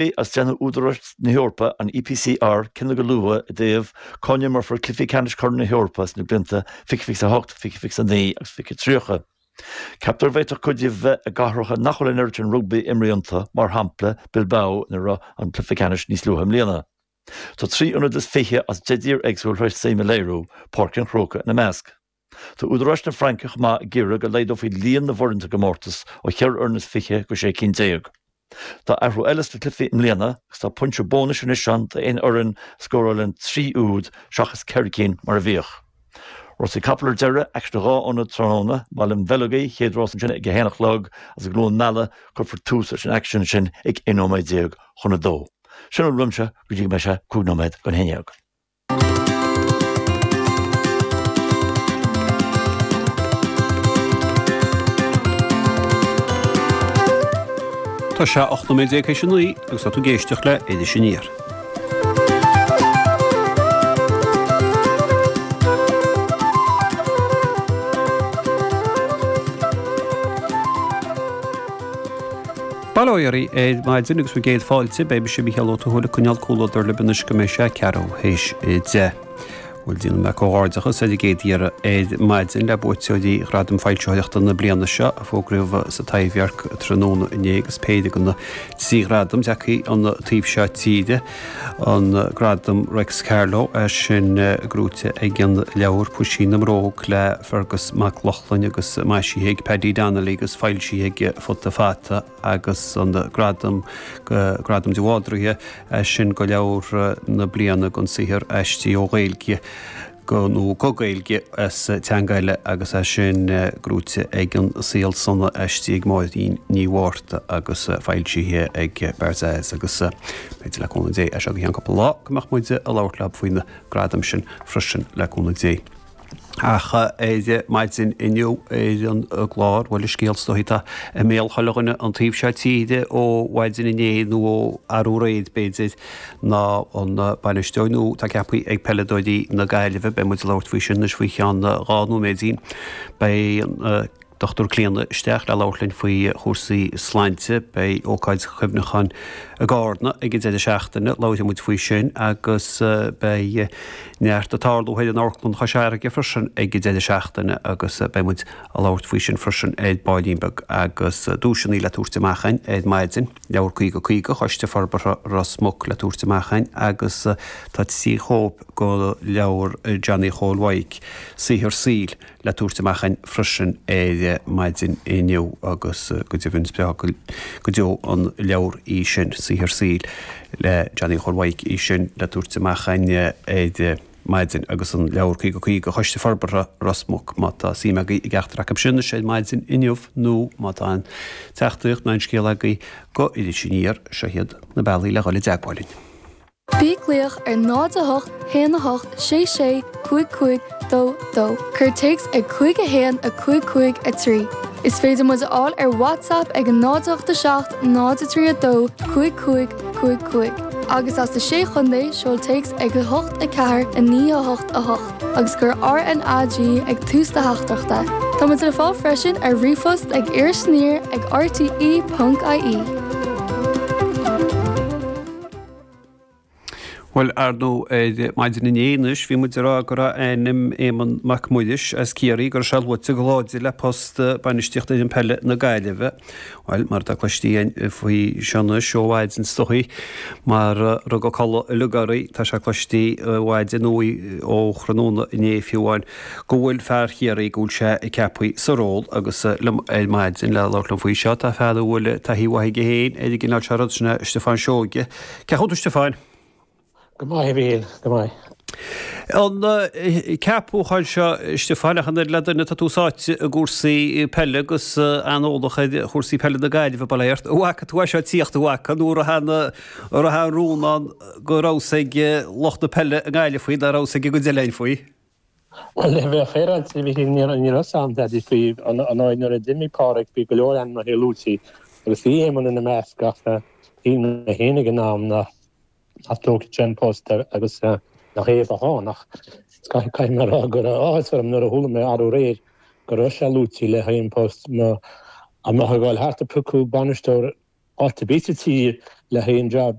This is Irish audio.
Agus déanfaidh údaráis na hEorpa, an EPCR, cinneadh go luath i dtaobh cá n-imreofar cluichí ceannais Chorn na hEorpa sna blianta 2028, 2029 agus 2030. Ceaptar go bhféadfadh cuid díobh bheith i gcathracha nach bhfuil an oiread sin rugbaí imrithe iontu, mar shampla Bilbao ina raibh an cluiche ceannais níos luaithe i mbliana. Tá 23 ionad as 10 dtír éagsúil tar éis suim a léiriú, Páirc an Chrócaigh ina measc. Tá údaráis na Fraince chomh maith ag iarraidh go laghdófaí líon na bhfoireann sa gcomórtas ó cheithre fhoireann is 20 go 16 cinn. Tá athrú eile sna cluichí i mbliana agus tá pointe bónais anois ann d'aon fhoireann a scórálann 3 úd seachas ceithre cinn mar a bhíodh. Rásaí capall ar deireadh, aicsean i dhá ionad tráthnóna, i mBaile an Bheilg, chéad rás ansin ag a haon a chlog agus i gCluain Meala cuirfear tús leis an aicsean sin ag 11 nóiméad chun a dó. Sin a bhfuil uaimse go dtí go mbeidh sé 5 nóiméad don 11. Tá sé 18 nóiméad théis a 9 agus tá tú ag éisteacht le Iris Aniar. Bail ó Dhia oraibh ar maidin agus bhur gcéad fáilte. Beidh mise Mícheál Ó Tuathail ag coinneáil comhluadar libh anois go mbeidh sé ceathrú théis 10. Bhuel, déanfaidh mé comhghairdeachas ar an gcéad iarraidh ar maidin le buaiteoirí Ghradam Foilsitheoireachta na bliana seo a fógraíodh sa Taibhdhearc tráthnóna inné agus péire de na trí ghradam tagtha ón taobh seo tíre, an Gradam Reics Carló, é sin gnóite ag an leabhar Puisín na mBróg le Fergus Mac Lochlainn agus maisithe ag Paddy Donnelly agus foilsithe ag Futa Fata agus an Gradam Gradam de Bhaldraithe, é sin go leabhar na bliana don saothar aistrithe ó Ghaeilge go nó go Gaeilge as teanga eile agus é sin gnóite ag An Saol Sona aistrithe ag Máirín Ní Mhárta agus foilsithe ag Barzaz agus b'fhéidir le cúnamh Dé as seo go ceann cúpla lá go mbeadh muid ag labhairt leob faoi na gradaim sin freisin le cúnamh Dé. Ach ar maidin inniu ar an gclár, bhuel an scéal is dóichí atá i mbéal chuile dhuine an taobh seo tíre ó mhaidin inné nó ó arú aréir b'fhéidir, ná an bainisteoir nua atá ceaptha ag peileadóirí na Gaillimhe. Beidh muid ag labhairt faoi sin anois faoi cheann 2 nóiméidín. Beidh an Dr Clíona isteach le labhairt linn faoi chúrsaí sláinte. Beidh ócáid chuimhneacháin i gCárna ag an deireadh seachtaine, labharfaidh muid faoi sin agus beidh neart ag tarlú thoir in Amharclann Chois Fharraige freisin ag an deireadh seachtaine agus beidh muid ag labhairt faoi sin freisin ar baillín beag agus duaiseanna le tabhairt amach againn ar maidin, Leabhar 50 50 Choiste Forbartha Ros Muc le tabhairt amach againn agus tá 3 chóip de leabhar Johnny Chóil Mhaidhc, Saothar Saoil, le tabhairt amach againn freisin ar maidin inniu agus go deimhin is breá go deo an leabhar í sin, Saothar Saoil le Johnny Chóil Mhaidhc í sin le tabhairt amach againn ar maidin agus an leabhar 50 50 Choiste Forbartha Ros Muc. Má tá suim agaibh i gceachtar acu sin anois ar maidin inniu nó má tá aon teachtaireacht nó aon scéal agaibh go Iris Aniar, seo iad na bealaí le dhul i dteagmháil linn. Bí ag glaoch ar 0 8 1 8 6 6 5 5 2 2. Cuir téacs ag 5 1 5 5 3. Is féidir muid a fháil ar WhatsApp ag 0 8 7 0 3 2 5 5 5 5. Agus as na Sé Chontae, seol téacs ag 8 4 9 8 8 agus cuir RNAG ag tús do theachtaireachta. Tá muid le fáil freisin ar ríomhphost ag irisaniar ag rte.ie. Bhuel, ar ndóigh, ar maidin inné anois, bhí muid ag rá go raibh ainm Éamonn Mac Muiris as Ciarraí, go raibh sé luaite go láidir le post bainistíochta fhoireann peile na Gaillimhe. Bhuel, mar atá cloiste againn faoi seo anois ó mhaidin is dóichí, mar a rugadh codladh uilig orainn, tá sé cloiste ó mhaidin nó ó thráthnóna inné fiú amháin, go bhfuil fear Chiarraí, go bhfuil sé ceaptha sa ról agus liom ar maidin le labhairt liom faoi seo tá fear a bhfuil taithí mhaith aige féin ar an gcineál seo rud, sin é Stiofán Seoige. Cén chaoi a bhfuil tú Stiofáin? Go maith a Mhíchíl, go maith. An ceapúchán seo Stiofáin ach an oiread le duine tá tú sáite i gcúrsaí peile agus an-eolach ar chúrsaí peile na Gaillimhe, bail ó Dhia ort. An bhfaca tú é seo ag tíocht, an bhfaca, nó an raibh an, an raibh aon rún ann go raibh fhios ag lucht na peile i nGaillimh faoi, nach raibh fhios ag an gcuid eile againn faoi? Bhuel, le bheith féaráilte, a Mhíchíl, ní raibh fhios a'm dadaí faoi. Ar ndóigh, nuair a d'imigh Páraic, bhí go leor ainmneacha luaite agus bhí Éamonn ina measc ach shíl mé féin ag an am nach dtógfadh sé an post agus nach é a bheadh ann. Ach caithfidh mé a rá go raibh áthas orm nuair a chuala mé arú aréir go raibh sé luaite le haghaidh an post. Dá mbeifeá ag dul thart ag piocadh bainisteoir áit ar bith sa tír. le haghaidh an job.